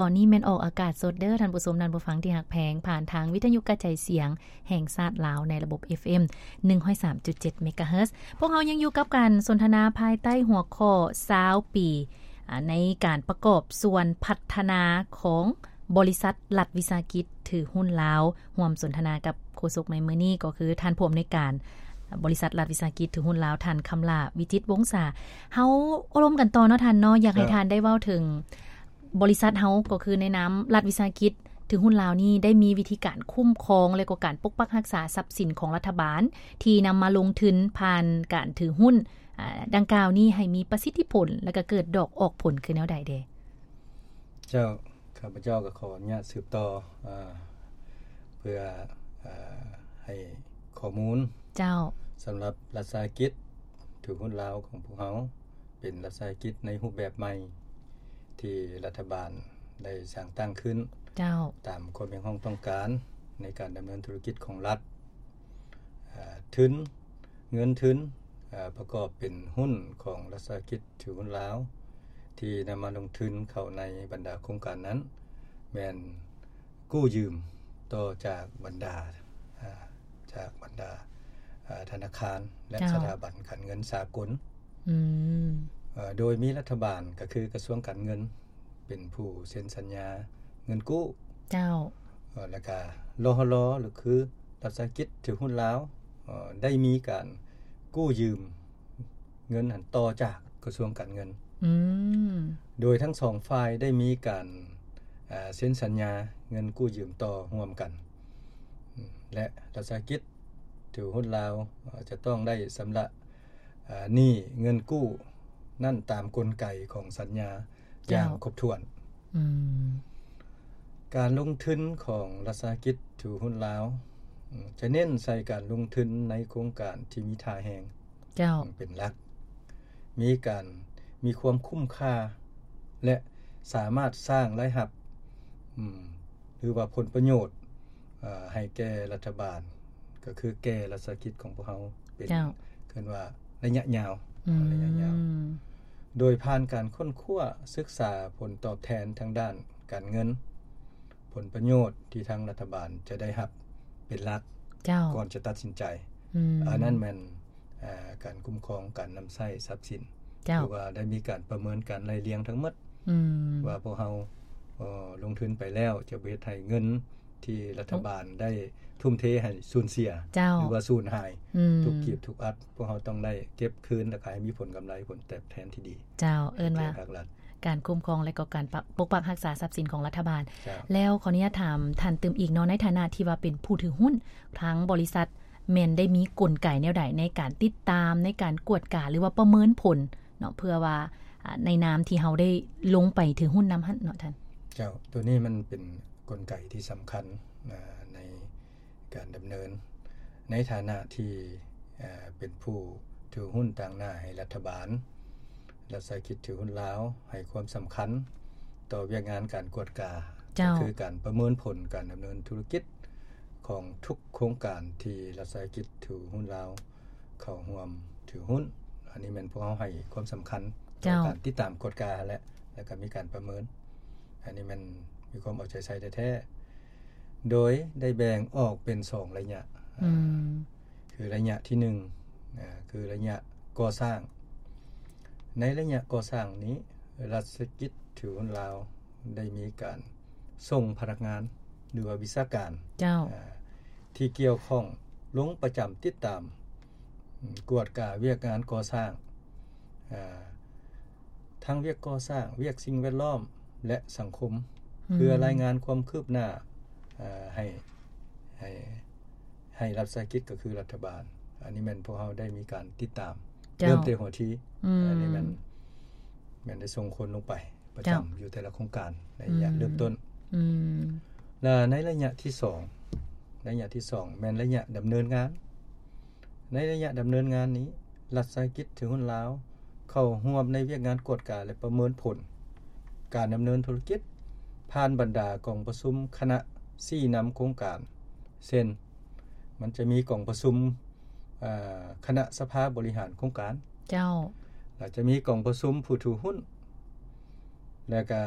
ຕອນນີ້ແມ່ນອອກອາກາດສົດເດີທ່ານຜູ້ຊົມ ທ່ານຜູ້ຟັງທີ່ຮັກແພງ ຜ່ານທາງວິທະຍຸກະຈາຍສຽງແຫ່ງຊາດລາວ ໃນລະບົບ ເອັຟເອັມ ໜຶ່ງຮ້ອຍສາມຈຸດເຈັດ ເມກາເຮີດ. ພວກເຮົາຍັງຢູ່ກັບການສົນທະນາພາຍໃຕ້ຫົວຂໍ້ ຊາວປີ ອາ ໃນການປະກອບສ່ວນພັດທະນາຂອງບໍລິສັດລັດວິສາຫະກິດຖືຫຸ້ນລາວ. ຮ່ວມສົນທະນາກັບໂຄສົກໃນມື້ນີ້ ກໍຄືທ່ານຜູ້ອຳນວຍການບໍລິສັດລັດວິສາຫະກິດຖືຫຸ້ນລາວ ທ່ານ ຄຳຫຼ້າ ວິຈິດວົງສາ. ເຮົາໂອ້ລົມກັນຕໍ່ເນາະທ່ານເນາະ, ຢາກໃຫ້ ເຈົ້າ ທ່ານໄດ້ເວົ້າເຖິງ ບໍລິສັດເຮົາ ກໍຄືໃນນາມລັດວິສາຫະກິດຖືຫຸ້ນລາວນີ້ ໄດ້ມີວິທີການຄຸ້ມຄອງ ແລະ ກໍການປົກປັກຮັກສາຊັບສິນຂອງລັດຖະບານ ທີ່ນຳມາລົງທຶນຜ່ານການຖືຫຸ້ນ ອາ ດັ່ງກ່າວນີ້ ໃຫ້ມີປະສິດທິຜົນ ແລະ ກໍເກີດດອກອອກຜົນຄືແນວໃດແດ່? ເຈົ້າ ຂ້າພະເຈົ້າກໍຂໍອະນຸຍາດສືບຕໍ່ ອາ ເພື່ອ ອາ ໃຫ້ຂໍ້ມູນ. ເຈົ້າ. ສຳລັບລັດວິສາຫະກິດຖືຫຸ້ນລາວຂອງພວກເຮົາ ເປັນລັດວິສາຫະກິດໃນຮູບແບບໃໝ່ ທີ່ລັດຖະບານໄດ້ສ້າງຕັ້ງຂຶ້ນ ເຈົ້າ ຕາມຄວາມຮຽກຮ້ອງຕ້ອງການໃນການດຳເນີນທຸລະກິດຂອງລັດ. ອາ ທຶນ ເງິນທຶນ ອາ ປະກອບເປັນຫຸ້ນຂອງລັດວິສາຫະກິດຖືຫຸ້ນລາວ ທີ່ນຳມາລົງທຶນເຂົ້າໃນບັນດາໂຄງການນັ້ນ ແມ່ນກູ້ຢືມຕໍ່ຈາກບັນດາ ອາ ຈາກບັນດາ ອາ ທະນາຄານ ແລະ ເຈົ້າ ສະຖາບັນການເງິນສາກົນ. ອືມ. ເອີ ໂດຍມີລັດຖະບານ ກໍຄືກະຊວງການເງິນ ເປັນຜູ້ເຊັນສັນຍາເງິນກູ້. ເຈົ້າ. ເອີ ແລ້ວກະ ລຫລ ຫຼື ຄືລັດວິສາຫະກິດຖືຫຸ້ນລາວ ເອີ ໄດ້ມີການກູ້ຢືມເງິນຫັ້ນຕໍ່ຈາກກະຊວງການເງິນ. ອືມ. ໂດຍທັງສອງຝ່າຍໄດ້ມີການ ອາ ເຊັນສັນຍາເງິນກູ້ຢືມຕໍ່ຮ່ວມກັນ ອາ ແລະ ລັດວິສາຫະກິດຖືຫຸ້ນລາວ ອາ ຈະຕ້ອງໄດ້ຊຳລະ ອາ ໜີ້ເງິນກູ້ນັ້ນຕາມກົນໄກຂອງສັນຍາ ເຈົ້າ ຢ່າງຄົບຖ້ວນ. ອືມ. ການລົງທຶນຂອງລັດວິສາຫະກິດຖືຫຸ້ນລາວ ອາ ຈະເນັ້ນໃສ່ການລົງທຶນໃນໂຄງການທີ່ມີທ່າແຮງ ເຈົ້າ ເປັນຫຼັກ, ມີການ ມີຄວາມຄຸ້ມຄ່າ ແລະ ສາມາດສ້າງລາຍຮັບ ອາ ຫຼືວ່າຜົນປະໂຫຍດ ອາ ໃຫ້ແກ່ລັດຖະບານ ກໍຄືແກ່ລັດວິສາຫະກິດຂອງພວກເຮົາ ເປັນ ເຈົ້າ ເອີ້ນວ່າໄລຍະຍາວ. ອືມ. ໄລຍະຍາວ ໂດຍຜ່ານການຄົ້ນຄວ້າສຶກສາຜົນຕອບແທນທາງດ້ານການເງິນ, ຜົນປະໂຫຍດທີ່ທາງລັດຖະບານຈະໄດ້ຮັບເປັນຫຼັກ ເຈົ້າ ກ່ອນຈະຕັດສິນໃຈ. ອືມ. ອັນນັ້ນແມ່ນ ອາ ການຄຸ້ມຄອງການນຳໃຊ້ຊັບສິນ ເຈົ້າ ຫຼືວ່າໄດ້ມີການປະເມີນການໄລ່ລຽງທັງໝົດ ອືມ ວ່າພວກເຮົາ ເອີ ລົງທຶນໄປແລ້ວ ຈະບໍ່ເຮັດໃຫ້ເງິນທີ່ລັດຖະບານໄດ້ທຸ່ມເທໃຫ້ສູນເສຍ ເຈົ້າ ຫຼືວ່າສູນຫາຍ ອືມ ທຸກກີບທຸກອັດ ພວກເຮົາຕ້ອງໄດ້ເກັບຄືນ ແລ້ວກໍໃຫ້ມີຜົນກຳໄລ ຜົນຕອບແທນທີ່ດີ. ເຈົ້າ. ເອີ້ນວ່າການຄຸ້ມຄອງ ແລະ ກໍການປະ ປົກປັກຮັກສາຊັບສິນຂອງລັດຖະບານ. ເຈົ້າ. ແລ້ວຂໍອະນຸຍາດຖາມທ່ານຕື່ມອີກເນາະ, ໃນຖານະທີ່ວ່າເປັນຜູ້ຖືຫຸ້ນ ທາງບໍລິສັດແມ່ນໄດ້ມີກົນໄກແນວໃດໃນການຕິດຕາມ, ໃນການກວດກາ ຫຼືວ່າປະເມີນຜົນເນາະ ເພື່ອວ່າ ອາ ໃນນາມທີ່ເຮົາໄດ້ລົງໄປຖືຫຸ້ນນຳຫັ້ນເນາະທ່ານ? ເຈົ້າ. ໂຕນີ້ມັນເປັນກົນໄກທີ່ສຳຄັນ ອາ ໃນ ການດຳເນີນ ໃນຖານະທີ່ ເອີ ເປັນຜູ້ຖືຫຸ້ນຕາງໜ້າໃຫ້ລັດຖະບານ, ລັດວິສາຫະກິດຖືຫຸ້ນລາວໃຫ້ຄວາມສຳຄັນຕໍ່ວຽກງານການກວດກາ, ເຈົ້າ. ກໍຄືການປະເມີນຜົນການດຳເນີນທຸລະກິດຂອງທຸກໂຄງການທີ່ລັດວິສາຫະກິດຖືຫຸ້ນລາວເຂົ້າຮ່ວມຖືຫຸ້ນ. ອັນນີ້ແມ່ນພວກເຮົາໃຫ້ຄວາມສຳຄັນ ເຈົ້າ. ຕໍ່ການຕິດຕາມກວດກາແຫຼະ ແລ້ວກໍມີການປະເມີນ. ອັນນີ້ແມ່ນມີຄວາມເອົາໃຈໃສ່ແທ້ໆ. ໂດຍໄດ້ແບ່ງອອກເປັນສອງໄລຍະ, ອືມ ຄືໄລຍະທີໜຶ່ງ ອາ ຄືໄລຍະກໍ່ສ້າງ. ໃນໄລຍະກໍ່ສ້າງນີ້ ລັດວິສາຫະກິດຖືຫຸ້ນລາວໄດ້ມີການສົ່ງພະນັກງານ ຫຼືວ່າວິຊາການ ເຈົ້າ. ອາ ທີ່ກ່ຽວຂ້ອງລົງປະຈຳຕິດຕາມ ອາ ກວດກາວຽກງານກໍ່ສ້າງ ອາ ທັງວຽກກໍ່ສ້າງ, ວຽກສິ່ງແວດລ້ອມ ແລະ ສັງຄົມ ອືມ ເພື່ອລາຍງານຄວາມຄືບໜ້າ ອາ ໃຫ້ ໃຫ້ ໃຫ້ລັດວິສາຫະກິດ ກໍຄືລັດຖະບານ. ອັນນີ້ແມ່ນພວກເຮົາໄດ້ມີການຕິດຕາມ ເຈົ້າ ເລີ່ມແຕ່ຫົວທີ ອືມ ອັນນີ້ແມ່ນ ແມ່ນໄດ້ສົ່ງຄົນລົງໄປປະຈຳ ເຈົ້າ ຢູ່ແຕ່ລະໂຄງການໃນໄລຍະ ອືມ ເລີ່ມຕົ້ນ ອືມ ແລະ ໃນໄລຍະທີສອງ ໄລຍະທີສອງແມ່ນໄລຍະດຳເນີນງານ. ໃນໄລຍະດຳເນີນງານນີ້ ລັດວິສາຫະກິດຖືຫຸ້ນລາວເຂົ້າຮ່ວມໃນວຽກງານກວດກາ ແລະ ປະເມີນຜົນການດຳເນີນທຸລະກິດ ຜ່ານບັນດາກອງປະຊຸມຄະນະຊີ້ນຳໂຄງການ ເຊັ່ນ ມັນຈະມີກອງປະຊຸມ ເອີ ຄະນະສະພາບໍລິຫານໂຄງການ ເຈົ້າ ແລ້ວຈະມີກອງປະຊຸມຜູ້ຖືຫຸ້ນ ແລ້ວກະ